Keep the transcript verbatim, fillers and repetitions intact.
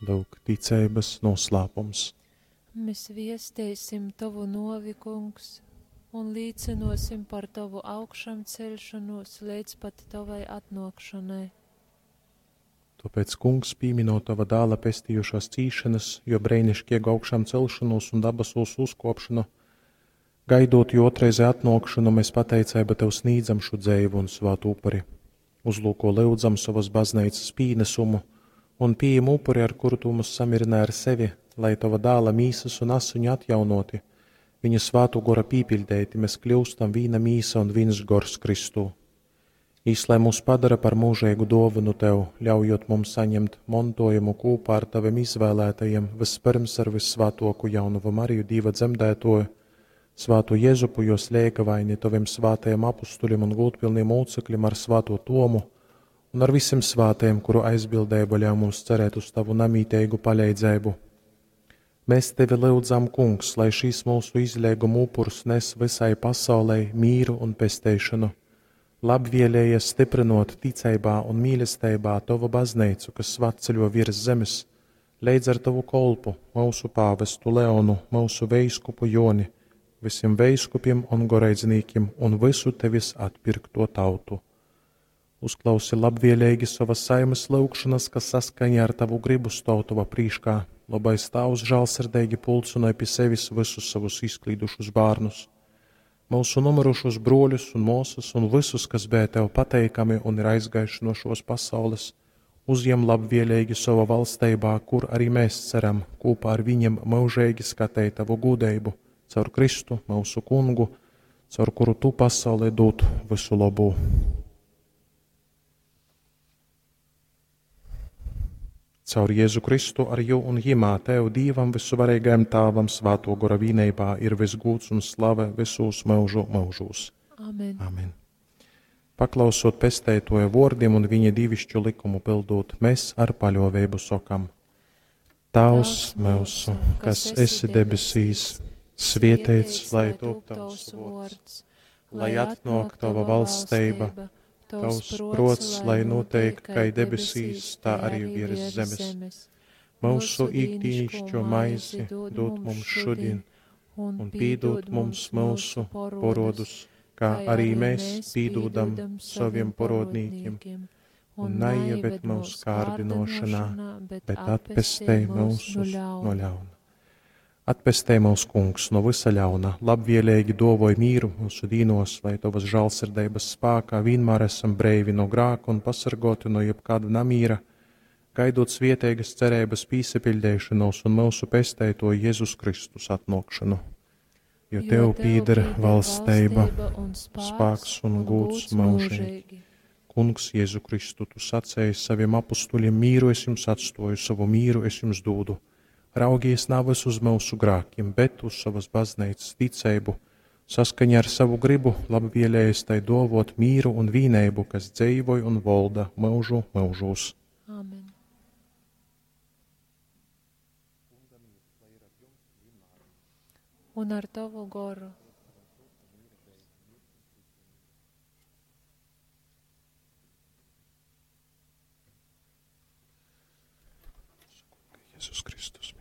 Lūk, ticeibas noslēpums. Mēs viesteisim Tovu novi, Kungs, un līcinosim par Tovu augšām celšanos līdz pat Tavai atnākšanai. Tāpēc, Kungs, pīminot Tava dāla pestījušās cīšanas, jo breinišķiegu augšām celšanos un dabasūs uzkopšanu, gaidot jo otrreizē atnākšanu, mēs pateicība Tev sniedzam šo dzēvu un svātu upuri. Uzlūko lyudzam savas baznīcas pīnesumu un pieejam upuri, ar kuru Tu mūs samierināji ar sevi, lai Tava dāla mīsas un asiņu atjaunoti, viņa svātu gora pīpildēti, mēs kļūstam vīna mīsa un viens gors Kristū. Īs, lai mūs padara par mūžīgu dāvanu Tev, ļaujot mums saņemt montojumu kopā ar Taviem izvēlētajiem, vispirms ar vissvētāko jaunavu Mariju, Dieva dzemdētoju, svātu Jēzupu, jos lēgavaini, Taviem svātajiem apustuļiem un gūtpilniem mūcekļiem ar svāto Tomu un ar visiem svātajiem, kuru aizbildība ļauj mums cerēt uz Tavu namītīgu palīdzību. Mēs Tevi lūdzam, Kungs, lai šīs mūsu izlieguma upurs nes visai pasaulei mīru un pesteišanu. Labvēlējies stiprinot ticībā un mīlestībā Tavu baznīcu, kas svatceļo virs zemes, leidz ar Tavu kolpu, mūsu pāvestu Leonu, mūsu veiskupu Joni, visiem veiskupiem un goreidznīkiem un visu Tevis atpirkto tautu. Uzklausi labvēlīgi savas saimes lūgšanas, kas saskaņā ar Tavu gribu stāv Tava prīškā. Labais Tēvs žēlsirdīgi pulcināja pie sevis visus savus izklīdušus bērnus, mūsu nomirušos broļus un māsas un visus, kas bija Tev pateikami un ir aizgājuši no šos pasaules, uzņem labvēlīgi savā valstībā, kur arī mēs ceram kopā ar viņiem mūžīgi skatīt Tavu gudrību, caur Kristu, mūsu kungu, caur kuru Tu pasaulē dod visu labu. Caur Jēzu Kristu ar jū un jimā Tev, Dievam, visuvarīgajam Tāvam, Svāto Gora vīneibā ir visgūts un slave visos mūžu mūžos. Amen. Amen. Paklausot pestētoja vārdiem un viņa divišķu likumu pildot, mēs ar paļāvību sokam: Tavs mūsu, kas esi debesīs, svietēts, lai top tavs vārds, lai atnāk tava valstība, tavs prots, lai notiek kai debesīs, tā arī virs zemes. Mūsu ikdienišķo maizi dod mums šodien, un pīdod mums mūsu porodus, kā arī mēs pīdodam saviem porodnīkiem, un neieved mūsu kārdinošanā, bet atpestej mūsus no ļauna. Atpestej mūs, Kungs, no visa ļauna, labvēlīgi dovoj mīru mūsu dīnos, lai Tavas žēlsirdības spēkā vienmēr esam breivi no grāka un pasargoti no jebkāda namīra, gaidot svieteigas cerības pīsepildēšanos un mūsu pestēto Jēzus Kristus atnākšanu. Jo Tev pīder valsteiba, spēks un gūts mūžīgi. Kungs, Jēzu Kristu, Tu sacēji saviem apustuļiem, mīru es jums atstoju, savu mīru es jums dūdu. Raugies navas uz mūsu grākiem, bet uz savas baznīcas ticību, saskaņā ar savu gribu, labvēlējies tai dovot mīru un vīneibu, kas dzīvoj un volda mūžu mūžos. Amen. Un ar Tavu goru. Jēzus Kristus.